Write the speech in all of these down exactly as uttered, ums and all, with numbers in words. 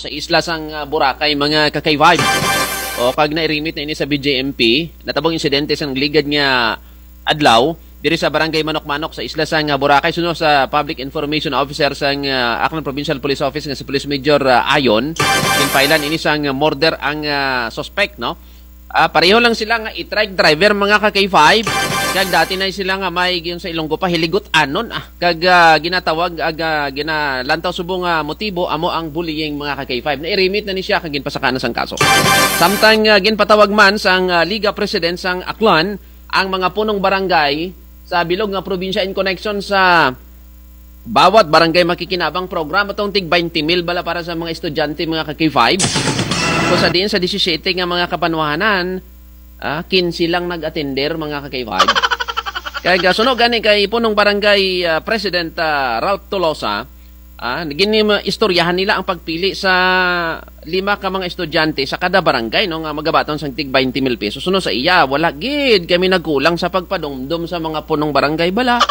sa isla sang, ah, Boracay, mga ka-K five. O, kag nairimit na ini sa B J M P, natabong insidente sang ligad nga adlaw diri sa barangay Manok-Manok sa isla sang, ah, Boracay. Suno sa Public Information Officer sang, ah, Aklan Provincial Police Office nga si Police Major, ah, Ayon, ginpailan ini sang murder ang, ah, suspect, no? Ah, pareho lang sila nga e-trike driver, mga ka-K five. Kag dati na sila nga may giingon sa Ilonggo pa, hiligot-anon, ah. Kag, ah, ginatawag, ag, ah, ginalantaw subong nga motibo, amo ang bullying, mga ka-K five. Nairimit na ni siya, kag ginpasakaan na sang kaso. Samtang, ah, ginpatawag man sang, ah, Liga President sang Aklan, ang mga punong barangay sa bilog nga probinsya in connection sa bawat barangay makikinabang programa tong tig baynte mil bala para sa mga estudyante, mga ka-K five. Kung sa diin sa disisiyete nga mga kabanwahanan, ah, kinse lang nag-atender, mga ka-K five. Kay gasuno gani kay punong barangay, ah, President, ah, Ralph Tolosa, ah, gin-, istoryahan nila ang pagpili sa lima ka mga estudyante sa kada barangay, no, nga magabaton sang tig baynte mil pesos. Suno sa iya, wala gid kami nagkulang sa pagpadumdom sa mga punong barangay bala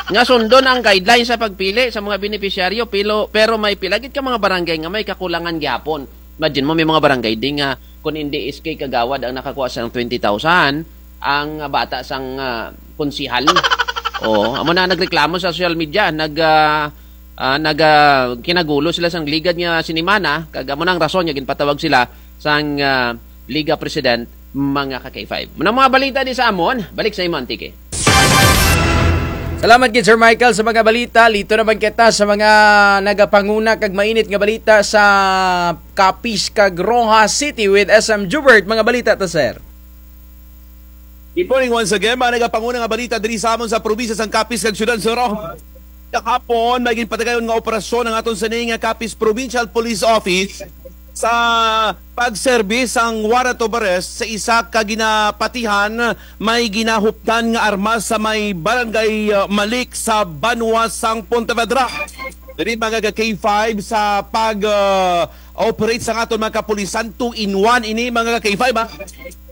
nga sundon ang guidelines sa pagpili sa mga benepisyaryo, pilo-, pero may pila gid ka mga barangay nga may kakulangan gihapon. Imagine mo, may mga barangay di nga kun indi S K Kagawad ang nakakuha sang twenty thousand, ang bata sang, ah, konsehal. O, amo na nagreklamo sa social media, nag, ah, ah, nag, ah, kinagulo sila sang ligad nga sinimana, kag amo na ang rason nga ginpatawag sila sang, ah, Liga President, mga ka-K five. Mao na mga balita di sa amon, balik sa imo, Antique. Salamat gid, Sir Michael, sa mga balita. Lito naman kita sa mga nagapanguna kag mainit nga balita sa Capiz kag Roxas City with S M Jubert. Mga balita ta, sir. Good morning once again, mga nagapanguna nga balita diri sa amon sa probinsya sang Capiz kag syudad sang Roxas. Kahapon, may ginpatigayon nga operasyon ang aton sini nga Capiz Provincial Police Office sa pagserbi sang warrant of arrest sa isa ka ginapatihan may ginahuptan nga armas sa may barangay, uh, Malik sa banwa sang Pontevedra. Diri, mga ka-K five, sa pag, uh, operate sang aton mga kapulisan, two in one ini, mga ka-K five, ha.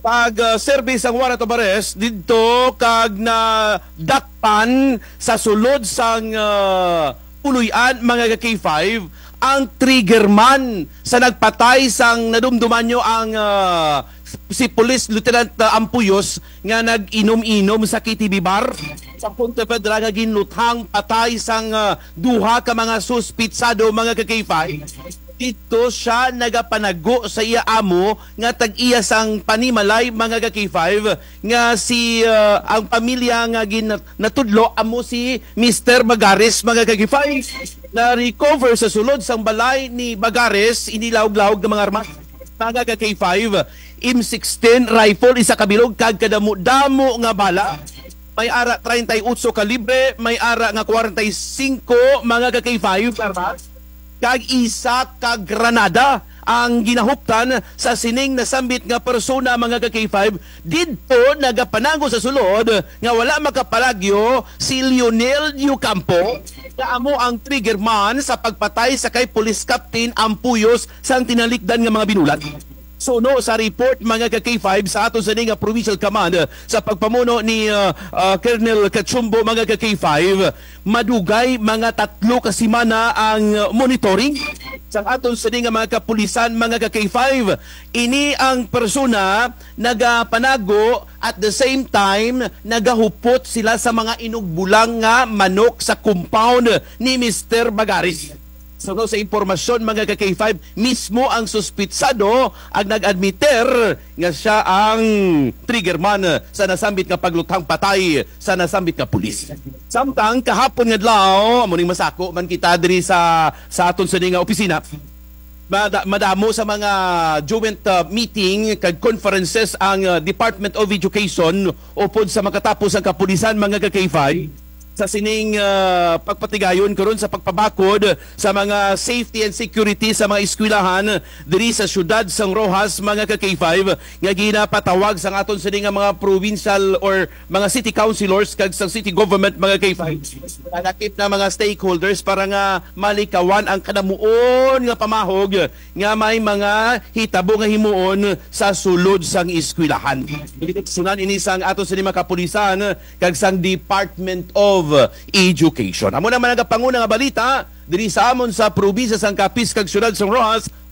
Pag, uh, serbi sang warrant of arrest didto kag nadakpan sa sulod sang, uh, Puluy-an, mga ka-K five, ang trigger man sa nagpatay sang nadumduman nyo ang, ah, si Police Lieutenant, ah, Ampuyos nga nag-inom-inom sa K T V bar sa Pontevedra nga ginluthang patay sang, ah, duha ka mga suspitsado, mga ka-K five. Didto siya nagapanago sa iya amo nga tag-iya sang panimalay, mga ka-K five, nga si, ah, ang pamilya nga gin-, natudlo amo si Mister Bagares, mga ka-K five. Na-recover sa sulod sang balay ni Bagares ini lahog-lahog nga mga armas, mga ka-K five, M sixteen rifle, isa ka bilog, kag kadamo-damo nga bala. May ara treinta y ocho kalibre, may ara nga kwarenta y singko, mga ka-K five, armas. Kag isa ka granada ang ginahuptan sa sining nasambit nga persona, mga ka-K five, didto nagapanago sa sulod nga wala makapalagyo si Lionel Diocampo, nga amo ang trigger man sa pagpatay sa kay Police Captain Ampuyos sang tinalikdan nga mga binulat. Suno sa report, mga ka-K five, sa aton sini nga provincial command, sa pagpamuno ni, ah, ah, Colonel Cachumbo, mga ka-K five, madugay mga tatlo ka semana ang monitoring sang aton sini nga mga kapulisan, mga ka-K five. Ini ang persona nagapanago, at the same time, nagahupot sila sa mga inugbulang nga manok sa compound ni Mister Bagares. Suno sa impormasyon, mga ka-K five, mismo ang suspitsado ang nag-admiter nga siya ang trigger man sa nasambit nga pagluthang patay sa nasambit nga pulis. Samtang kahapon nga adlaw, amo ning masako man kita diri sa, sa aton sini nga opisina, mada-, madamo sa mga joint, uh, meeting kag conferences ang, uh, Department of Education upod sa makatapos ang kapulisan, mga ka-K five, sa sining, ah, pagpatigayon karon sa pagpabakod sa mga safety and security sa mga eskwelahan diri sa siyudad sang Roxas, mga ka-K five, nga ginapatawag sang aton sini nga mga provincial or mga city councilors kag sang city government, mga ka-K five. Nalakip na mga stakeholders para nga malikawan ang kanamuon nga pamahog nga may mga hitabo nga himuon sa sulod sang eskwelahan. Direksyonan ini sang aton sini mga kapulisan kag sang Department of Education. Amo na man ang panguna nga balita diri sa amon sa probinsya sang Capiz kag siyudad sang Roxas.